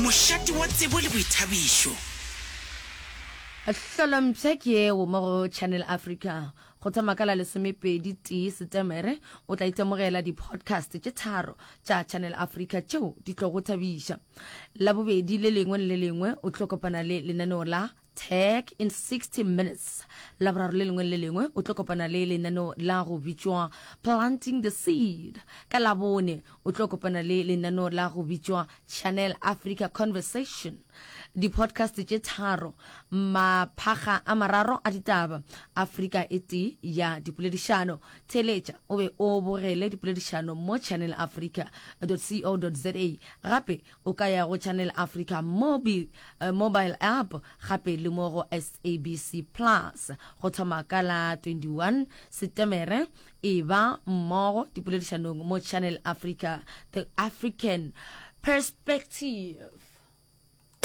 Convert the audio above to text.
Mošate wa tsebo le boithabišo. Hlolompsha ke yeo mo go Channel Africa. Go thoma ka la lesomepedi tee Setemere, o tla itemogela di-podcast tše tharo tša Channel Africa tšeo di tlogo thabiša. Labobedi le lengwe le le lengwe o tlo kopana le lenaneo la Tech in 60 Minutes. Laboraro le lengwe le le lengwe o tlo kopana le lenaneo la go bitšwa Planting the Seed. Ka Labone o tlo kopana le lenaneo la go bitšwa Channel Africa Conversation. Di-podcast tše tharo, maphakga a mararo a ditaba, Afrika e tee ya dipoledišano. Theeletša o be o bogele dipoledišano mo channelafrica.co.za. Gape O ka ya go Channel Africa Mobi, eh, mobile app gape le mo go SABC Plus. Go thoma ka la 21 Setemere, e ba mmogo dipoledišanong mo Channel Africa, The African Perspective.